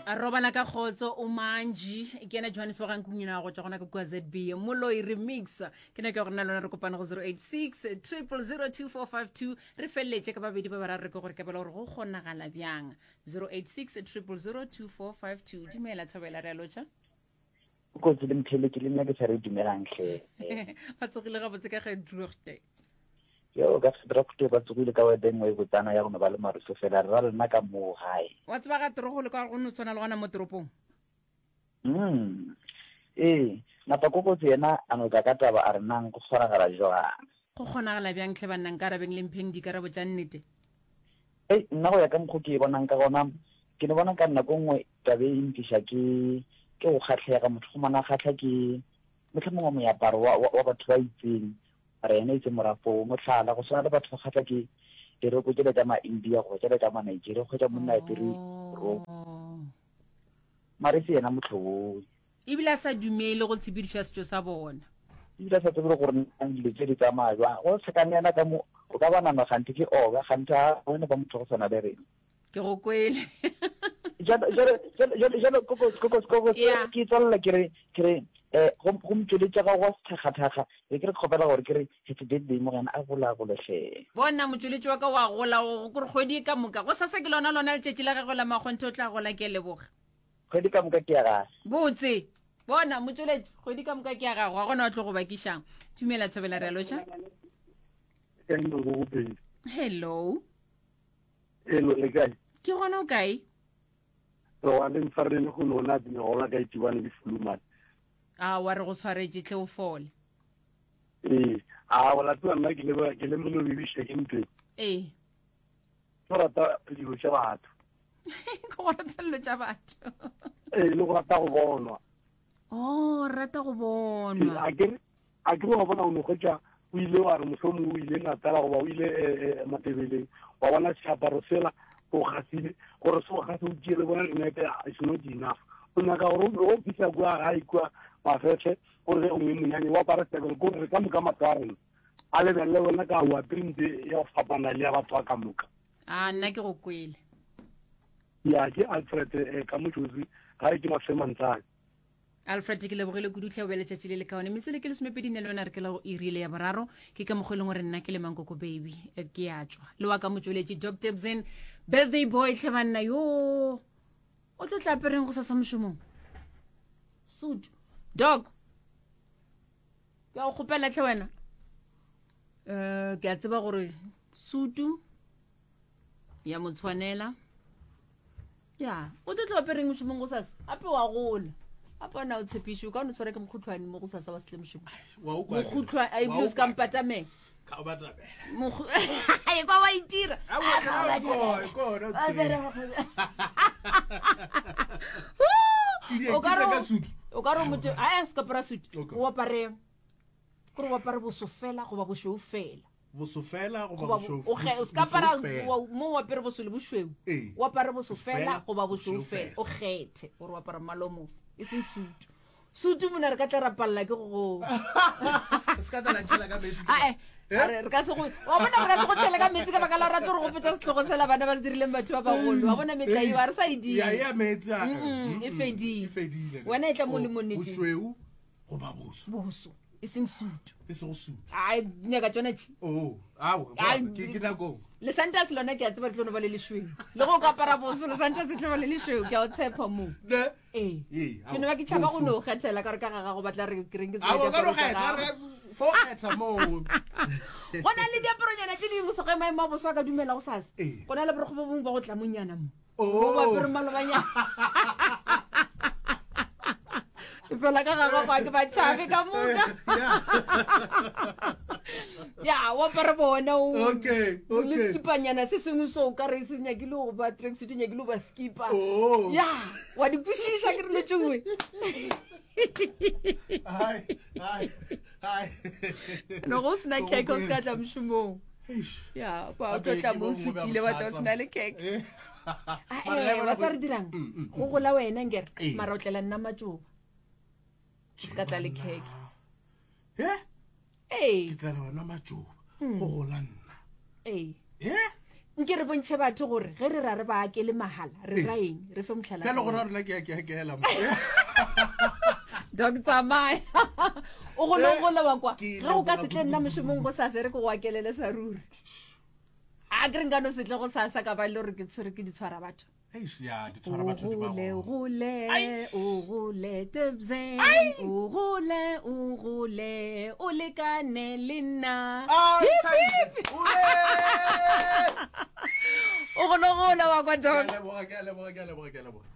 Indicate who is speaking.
Speaker 1: A robala ka kgotso o manji ke ena Johannes wa gankunyina go tšwa gona ka kua ZB Moloi remix ke nako ya gore na lona re kopane go 086 0002452 re feleletše ka babedi ba bararo re ke gore kabela gore go kgonagala bjang 086 0002452 dumela thobela re a lotšha
Speaker 2: Kotsi le mtheletši le nna ke sa re dumelang hle.
Speaker 1: Ba tsogile gabotse ka ge droogte.
Speaker 2: Yo ka droogte ba tsogile ka webe nngwe e botsana ya go no ba le maruso fela re ra lena ka moo gae.
Speaker 1: Wa tseba ga torogo le ka go no tshwana le gona mo toropong.
Speaker 2: Mm. Ee, napa kokotsi yena a no tla ka taba a re nang go kgonagala jwang.
Speaker 1: Go kgonagala bjang hle banna nkarabeng le mpheng dikarabo tša nnete.
Speaker 2: Ei, nna go ya ka mokgo ke e bonang ka gona, ke no bona ka nako nngwe Taba e ntliša ke, ke go kgahlega, motho go mona a kgahla ke mohlomongwe moaparo wa, wa, wa batho ba itseng, mara yena e se morafo. Mohlala, go swana le batho ba kgahla ke diroko tšela tša ma-India goba tšela tša ma-Nigeria, o hwetša monna a apere roko, mara e se yena mohlobo.
Speaker 1: Ebile a sa dumele go tshepedišo ya setšo sa bona.
Speaker 2: Ebile a sa tsebe le gore na dilo tše di tsamaya bjang. Go hlakane yena ka mo, o ka ba nana kganthe ke oka, kganthe a bone ba motho go swana le rena.
Speaker 1: Ke go kwele.
Speaker 2: Jalo, jalo, jalo, jalo, koko, koko, koko,
Speaker 1: Yeah.
Speaker 2: ke tswalela ke re, ke re, eh, go, go motšweletša ga go thakgathakga, be ke re kgopela gore ke re, happy birthday morena a gola gole hle.
Speaker 1: Bona motšweletši wa ka wa gola, go gore kgwedi e ka moka. Go sasa ke lona lona letšatši la gagwe la makgonthe o tla gola ke a leboga.
Speaker 2: Kgwedi ka moka ke ya gage.
Speaker 1: Botse. Bona motšweletši, kgwedi ka moka ke ya gago, ga gona wa tlo go bakišang. Tumela Thobela re a lotšha. Hello.
Speaker 3: Hello, le kae?
Speaker 1: Ke gona o kae?
Speaker 3: Re wa le ntshwarele go lona ke gola ka itibane ke fulumane.
Speaker 1: A wa re go tshwaretše tle o fole.
Speaker 3: Ee, a wa la tseba nna ke le ke le molo bibiša ke ntwe.
Speaker 1: Ee.
Speaker 3: Ke rata dilo tša batho.
Speaker 1: Ke go rata dilo tša batho.
Speaker 3: Ee, le go rata go bonwa.
Speaker 1: Oh, rata go bonwa.
Speaker 3: A ke A ke wa bona o no hwetša o ile wa re mohlomongwe o ile Natala goba o ile eh, eh, Matebeleng wa bona seaparo sela o gasile gore se o gase o tšee le bona dinepe it's not enough o nyaka gore o fihla kua gae kua mafefe gore ge o ngwe monyanya o apare seaparo ko re ka moka matlo a rena a lebelele wena ka o apere nte ya go fapana le ya batho ba ka moka
Speaker 1: a nna ke go kwele
Speaker 3: ya ke alfred eh, ka mojosi gae ke mafemantsane
Speaker 1: Alfred ke lebogile kudu tlhe o be letšatši le lekaone mesele ke lesomepedi ne le yona re ke la go irile ya boraro ke ka mokgwa e leng gore nna ke le mankoko baby eh, ke ya tšwa le wa ka motšweletši Doc Debson birthday boy tlhe banna yo o tlo tla apereng go sasa mošomong suit dog ke a go kgopela tlhe wena um ke a tseba gore sutu ya mo tshwanela ya o tlo tlo apereng mošomong go sasa gape wa gola gape ona o tshepiše o ka no tshwara ke mokhutlwane mo go sasa wa setle mošomo mokhutlwane a ebile o se ka mpatamela e kwa wa itira o ka re motho a se ka apara sutu o apare kore o apare boso fela goba bošweu fela
Speaker 4: boso fela goba
Speaker 1: bošweu o se ka apara mo o apere boso le bošweu o apare boso fela goba bošweu fela o kgethe gore o apara mmala o mofe e seng sutu sutu mona re ka tla ra palela ke go ae re ka se go wa bona re ka se go tšhele ka metsi ka baka la rata gore go petsa setlhogo sela bana ba se dirileng batho ba bagolo wa bona metla eo a re sa e dire e fedile wena e tla mo le mo nneteng
Speaker 4: goba boso
Speaker 1: boso e seng sutu
Speaker 4: e sego sutu
Speaker 1: a nyaka tsona tše
Speaker 4: oh ao ke ke nako
Speaker 1: le santa se lona ke a tseba le tlo no ba le lešweu le go ka apara boso le santa se tlo ba le lešweu ke a o tshepa mo
Speaker 4: ne
Speaker 1: ee ke no ba ke tšhaba go no kgethela ka gore ka ga gago batla re ke reng ke
Speaker 4: tsela diaparo tsa gago fo kgetha moo
Speaker 1: go na le diaparonyana tse dingwe sege maemo a boso a ka dumela go sasa go na le borokgo bo bongwe ba go tlamonyana mo oh. apere malobanyana fela ka gagwe gwa ke batšhabe ka moka ya o apare bona o
Speaker 4: okay
Speaker 1: le skipanyana se sengwe so o ka re se nyakile go ba tracksuit o nyakile go ba skipa
Speaker 4: oh.
Speaker 1: ya wa di kwešiša ke dilo tšengwe no go sena cake o se ka tla mošomong ya ba o tlo tla mo sutile wa tla o sena le cake eh. ah, eh, wa tsa re dirang mm, mm, go gola wena nkere eh. mara o tlela nna matšoba o se ka tla le cake
Speaker 4: ee ke tlela wena matšoba mm. go gola nna
Speaker 1: ee Nke re bontšhe batho gore ge re ra re ba akele mahala re ra eng, re fe mohlala.
Speaker 4: Bjale gona rena ke a ke a kela.
Speaker 1: Doc tsamaya. O gole o gole wa kwa. Ge o ka se tle nna mošomong go sasa re ke go akelele sa ruri. A ke re nka no se tle go sasa ka ba le gore ke tshwere ke di tshwara batho.
Speaker 4: Eish, ya, di tshwara batho di ba
Speaker 1: Ogole,
Speaker 4: gona.
Speaker 1: ogole, ogole, Tebzen, ogole, ogole, o lekane le nna.
Speaker 4: Ah,
Speaker 1: Hip,
Speaker 4: thabiše.
Speaker 1: hip.
Speaker 4: Ore!
Speaker 1: O gole, ogole wa kwa
Speaker 4: Ke
Speaker 1: Doc.
Speaker 4: a leboga, ke a leboga, ke a leboga, ke a leboga.